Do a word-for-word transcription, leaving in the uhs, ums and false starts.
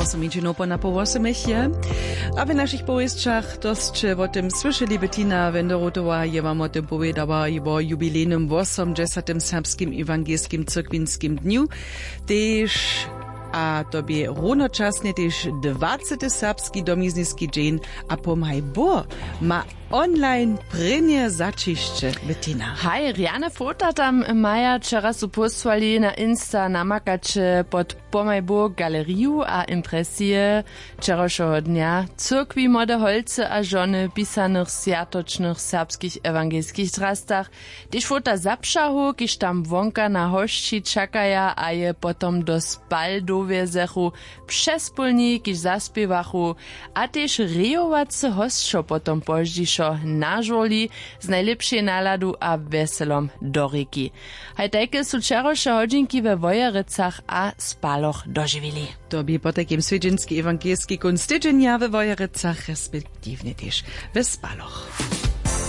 Smy dźenowpona po wosomich je. A w našich powěsćach to sće wo tym słyšeli. Bettina Wenderotowa je wam wo tym powědała, wo jubilejnym wosomdźesatym serbskim ewangelskim cyrkwinskim dnju. Tež a to bě runočasnje tež dwacety serbski domizniski dźeń. A pomhaj bor ma online prěnje zaćišće. Bettina, haj, rjane fota tam maja wčera su pósłali na insta namakaće pod pomaj bor galeriju a impresije. Wčerawšeho dnja cyrkwi młode holcy a žony w pisanych swjatočnych serbskich ewangelskich drastach, tež fota zapšahow kiž tam wonka na hosći čakaja a je potom do spal dowjezechu, přespólni kiž zaspěwachu, a tež rejowacy hosćo potom pozdźišo na žurli z najlěpšej naladu a wjeselom do rěki. Haj tajke su wčerawše hodźinki we wojerecach a spaloch dožiwili. To bě potajkim swjedźenski ewangelski kónc tydźenja we wojerecach respektiwnje tež we spaloch.